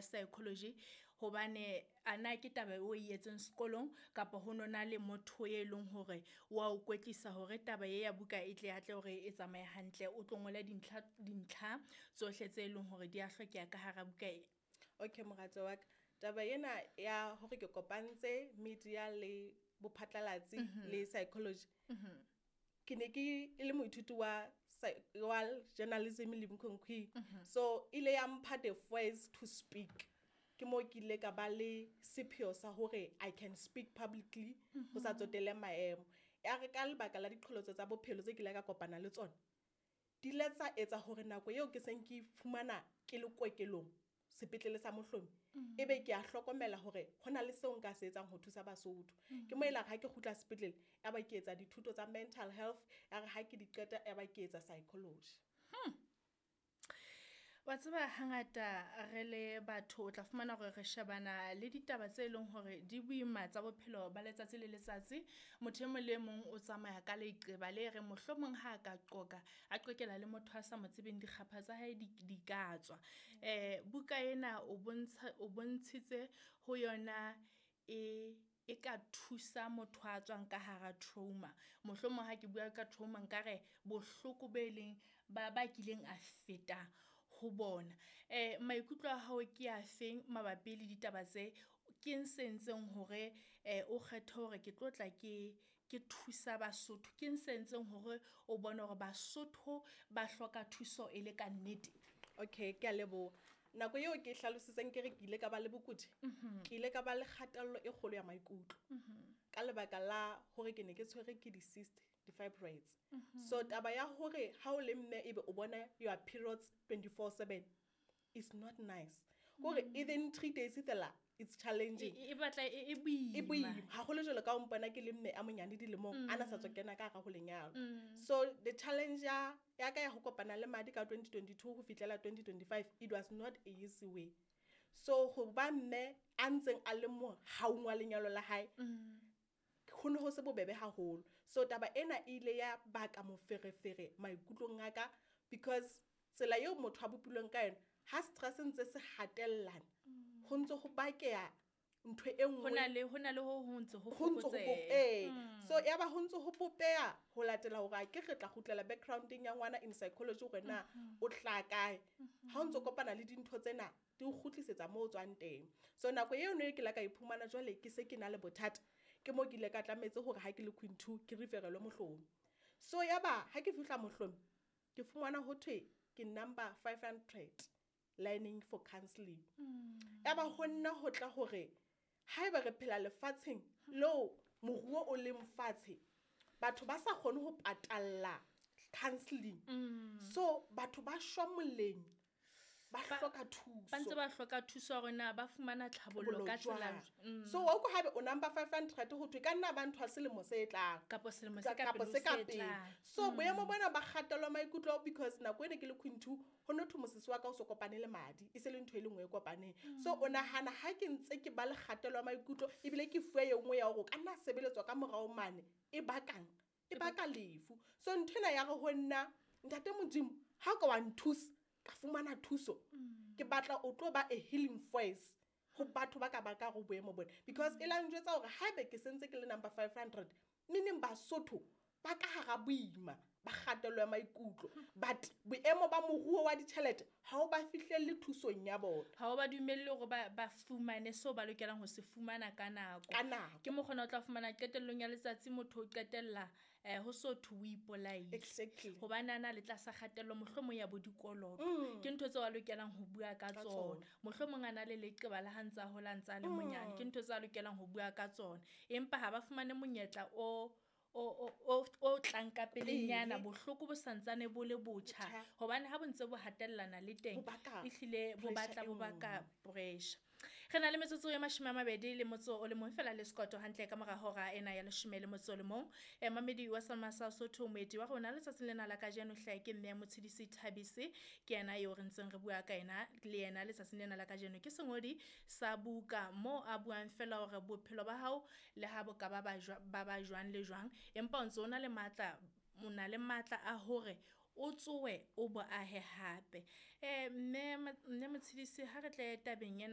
psychology, hobane ana ke taba o e etseng sekolong kapa ho nona le motho e leng hore wa o kwetlisa hore taba e ya buka e tle atle hore e tsamaye hantle, o tlo ngola dintlha tsohle tse leng hore di a hlokeha ka hara buka e. Okay, mohatso wa ka, taba ena ya hore ke kopantse media le bophatlalatsi le psychology. Ke ne ke le moithuti wa journalism le Mkhonkhwi. So ile ya mpha the voice to speak. Ke mo ke ile ka ba le sepheo sa hore I can speak publicly ho sa tsotelle maemo. Ya re ka lebaka la diqholotso tsa bophelo tse ke ile ka kopana le tsona, di ile tsa etsa hore nako eo ke seng ke fumana ke le kokelong sepetlele sa Mohlomi, ebe ke a hlokomela hore hona le seo nka se etsang ho thusa Basotho. Ke mo ela ha ke kgutla sepetlele, ya ba ke etsa dithuto tsa mental health, ya re ha ke di qeta ya ba ke etsa psychology. Wa tseba hangata re le batho o tla fumana hore re shebana le ditaba tse leng hore di boima tsa bophelo ba letsatsi le letsatsi. Motho e mong le mong o tsamaya ka leqeba le re mohlomong ha ka qoka, a qokela le motho a sa mo tsebeng, dikgapha tsa hae di ka tswa. Buka ena o bontshitse ho yona e ka thusa motho a tswang ka hara trauma. Mohlomong ha ke bua ka trauma nkare bohloko be leng ba kileng a feta ho bona. Maikutlo a hao ke a feng mabapi le ditaba tse? Ke eng se entseng hore o kgethe hore ke tlo tla ke thusa Basotho? Ke eng se entseng hore o bone hore Basotho ba hloka thuso e le ka nnete? Okay, ke a leboha. Nako eo ke hlalositseng ke re ke ile ka ba le bokudi, ke ile ka ba le kgatello e kgolo ya maikutlo. Ka lebaka la hore ke ne ke tshwere ke di-cyst, di-fibroids. So taba ya hore ha o le mme ebe o bona your periods 24/7 is not nice. Hore even 3 days fela it's challenging. E batla e boima. E boima. Haholo jwalo ka o mpona ke le mme a monyane dilemong, ana sa tswa kena ka hara ho lenyalo. So the challenge ya ka ya ho kopana le madi ka 2022 ho fihlela 2025, it was not a easy way. So ho ba mme a ntseng a le mo haung wa lenyalo la hae, ho ne ho se bobebe haholo. So taba ena e ile ya baka moferefere maikutlong a ka, because tsela eo motho a bopilweng ka yona, ha stress ntse se hatellana, ho ntse ho bakeha ntho e nngwe. Hona le ho ntse ho fokotseha. So ya ba ho ntse ho popeha ho latela hore a ke re tla kgutlela backgrounding ya ngwana in psychology hore na o tla kae. Ha o ntso kopana le dintho tsena di o kgutlisetsa moo o tswang teng. So nako eo ne ke la ka iphumana jwale ke se ke na le bothata, ke mo ke ile ka tlametse hore ha ke le Queen 2 ke referelwe Mohlomi. So ya ba ha ke fihla Mohlomi ke fumana ho thwe ke number 500 lining for counseling. Ya ba ho nna ho tla hore haeba re phela lefatsheng leo moruo o leng fatshe, batho ba sa kgone ho patalla counseling. So batho ba shwa moleng, ba hloka thuso. Ba ntse ba hloka thuso hore na ba fumana tlhabollo ka tsela. So wa utlwa haebe o number 500 ho thwe ka nna ba ntho selemo se tlang kapa selemo se ka pele. So boemo bona ba kgatello maikutlo, because nako ene ke le Queen 2 ho no thwe mosese wa ka o so kopane le madi, e se le ntho e le nngwe e kopaneng. So o nahana ha ke ntse ke ba le kgatello maikutlo ebile ke fuwe e nngwe ya hore o ka nna sebeletswa ka morao mane, e bakang e baka lefu. So ntho ena ya re ho nna ntate Modimo ha ka wa nthusa ka fumana thuso, ke batla o tlo ba a healing voice ho batho ba ka ba ka go boemo bona, because e la njwetsa hore haebe ke sentse ke le number 500, meaning Basotho ba ka hara boima ba kgatello ya maikutlo, but boemo ba moruo wa ditjhelete ha o ba fihlelle thusong ya bona, ha o ba dumelle hore ba fumane seo ba lokelang ho se fumana ka nako. Ke mokgona o tla fumana qetellong ya letsatsi motho o qetella ho so thwe o ipolaile. Exactly. Hobane a na le tlasa kgatello mohlomong ya bo dikoloto. Ke ntho tseo a lokelang ho bua ka tsona. Mohlomong a na le leqeba la ha ntsa hola ntsa le monyane. Ke ntho tseo a lokelang ho bua ka tsona. Empa ha ba fumane monyetla o tlang ka pelenyana, bohloko bo santsane bo le botjha, hobane ha bo ntse bo hatellana le teng ehlile bo batla bo baka pressure. Re na le metsotso ya 21 fela le sekoto hantle ka mora hora ena ya 11. Mamedi wa Salma sa Sotho, moeti wa rona letsatsing lena la kajeno hlae ke mme ya Motshidisi Thabisi, ke yena eo re ntseng re bua ka yena le yena letsatsing lena la kajeno. Ke sengodi sa buka mo a buang fela hore bophelo ba hao le ha bo ka ba ba jwang le jwang, empa o ntse o na le matla, o na le matla a hore o tsoe o bo ahe hape. Mme Motshidisi, ha re tle tabeng ena.